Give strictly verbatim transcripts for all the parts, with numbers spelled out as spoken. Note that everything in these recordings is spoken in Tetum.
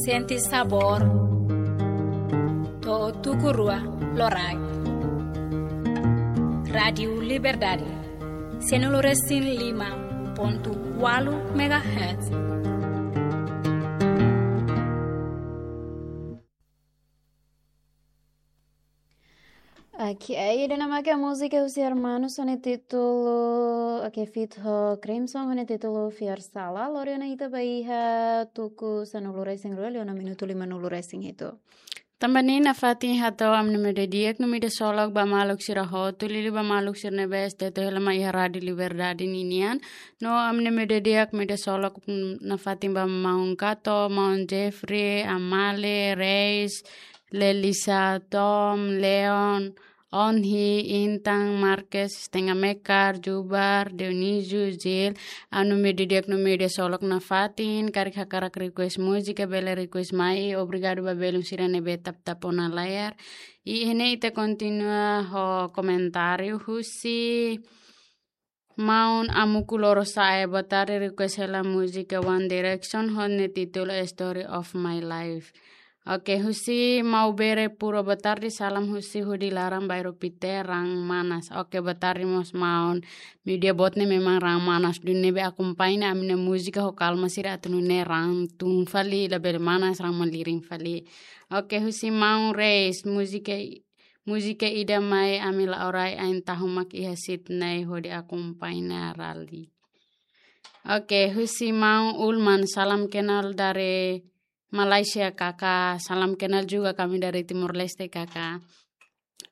Sente sabór. To'o tuku rua loraik. Rádiu Liberdade. Sianulu resin lima pontu ualu megahertz. Oke, ida-ne'e mak múzika husi Hermanos ho nia títulu, oke, feat ho Crimson ho nia títulu Fiar Sala. Lori ona ita ba iha tuku sanulu resin rua, liu ona minutu limanulu resin hitu. Tanba ne'e nafatin hato'o ami-nia média di'ak no média solok ba maluk sira hotu, liuliu ba maluk sira ne'ebé atu hela mai iha Rádiu Liberdade ninian. No ami-nia média di'ak, média solok, mm, nafatin ba maun Kato, maun Jeffrey, Amale, Reis, Lelisa, Tom, Leon, Onhi, Intan, Marques, Stenga Mekar, Jubar, Dionisio, Zil, ami-nia média di'ak no média solok nafatin, karik hakarak request múzika, bele request mai, obrigadu ba belun sira ne'ebé tap-tap ona layar. I iha ne'e ita kontinua ho komentáriu husi Maun Amuku Lorosa'e, boa tarde, request hela múzika One Direction ho nia títulu Story of My Life. Oke, husi Maubere Puro, boa tarde, salam husi hudi laran, bairru Pité, raan manas. Oke, boa tarde mós maun. Meiudia boot ne'e memang raan manas duni, ne'ebé akompaña ami-nia múzika ho kalma sira atu nune'e raan tun fali, labele manas, raan malirin fali. Oke, husi maun Reis, múzika i-, múzika ida mai ami la'o rai, ain tahu mak iha Sydney hodi akompaña rally. Oke, husi maun Ulman, salam kenal dari Malaysia, Kakak. Salam kenal juga kami dari Timor Leste, Kakak.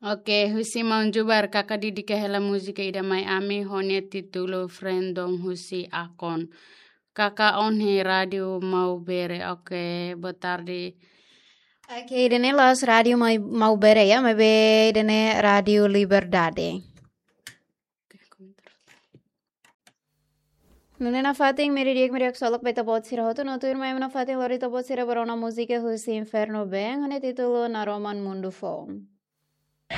Oke, husi maun Jubar, Kakak dedika hela múzika ida mai ami ho nia títulu Friend Dong husi Akon. Kakak Onhi, Rádiu Maubere. Oke, boa tarde. Oke, ida-ne'e la'ós Rádiu Mai-, Maubere ya, maibé ida-ne'e Rádiu Liberdade. Nune'e nafatin média di'ak, média solok ba ita-boot sira hotu, no tuirmai nafatin lori ita-boot sira ba rona múzika husi Inferno Band, ho nia títulu Naroman Mundu Foun.